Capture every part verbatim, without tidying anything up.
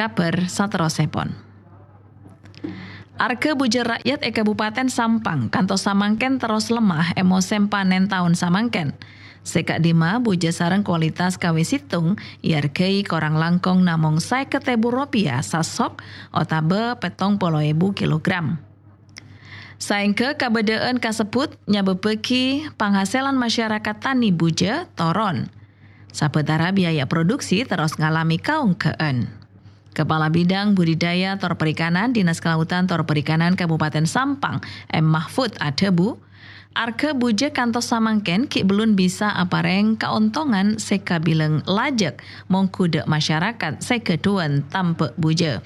Kabhâr saterrossèpon. Arghâ bujâ ra'yat è Kabupaten Sampang kantos samangkèn terros lemah è mosèm panèn taon samangkèn. Sè ka'dimma bujâ sareng kualitas kawè sèttong èarghâi korang langkong namong sèket èbu ropèya sasok otabâ pèttong polo èbu kilogram. Saèngghâ kabâdâ'ân kasebbhut nyabâbbhâghi panghasèlan masyarakat tanè bujâ toron. Sabâtara biaya produksi terros ngalamè kaonggâ'ân. Kepala Bidang Budidaya tor Perikanan Dinas Kelautan tor Perikanan Kabupaten Sampang, M Mahfud adhâbu, arghâ bujâ kantos samangkèn ghi' bellun bisa aparèng kaontongan sè kabilang lajhâk mongghu dâ' masyarakat sè ghâdhuwân tambâ' bujâ.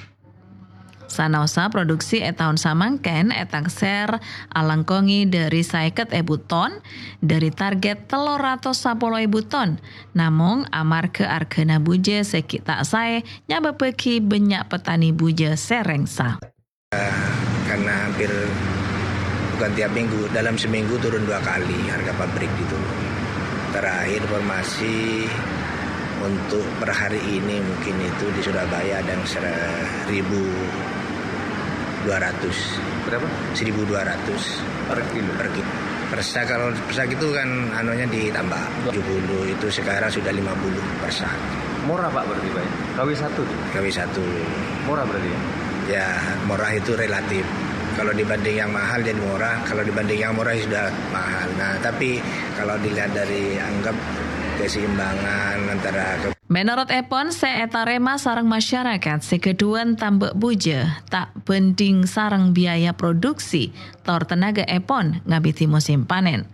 Sanaossa produksi è taon samangkèn ètaksèr alangkongè dâri sèket èbu ton, dâri target tello ratos sapolo èbu ton. Namong amarghâ arghâna bujâ sè ghi' ta' saè nyabâbbhâghi bânnya' petani bujâ sè rèngsa. Karena hampir bukan tiap minggu, dalam seminggu turun dua kali harga pabrik gitu. Terakhir informasi untuk per hari ini mungkin itu di Surabaya ada yang seribu dua ratus. Berapa? Seribu dua ratus. Per kilo? Per kilo. Persa, kalau persa gitu kan anunya ditambah. Tujuh puluh itu sekarang sudah lima puluh persa. Murah, Pak, berarti, Pak, ya? K W satu tuh? K W satu. Murah berarti, ya? Ya, murah itu relatif. Kalau dibanding yang mahal jadi murah, kalau dibanding yang murah ya sudah mahal. Nah, tapi kalau dilihat dari anggap keseimbangan antara ke- Mènorot èpon sè ètarèma sareng masyarakat sè ghâdhuwân tambâ' bujâ ta' bhândhing sareng biaya produksi tor tenaga èpon ngabidhi mosèm panèn.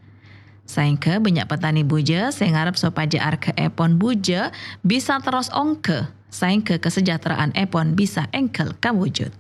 Saèngghâ bânnya' petani bujâ sè ngarep sopajâ arghâ èpon bujâ bisa terros ongghâ, saèngghâ kasejahteraan èpon bisa èngghâl kawujud.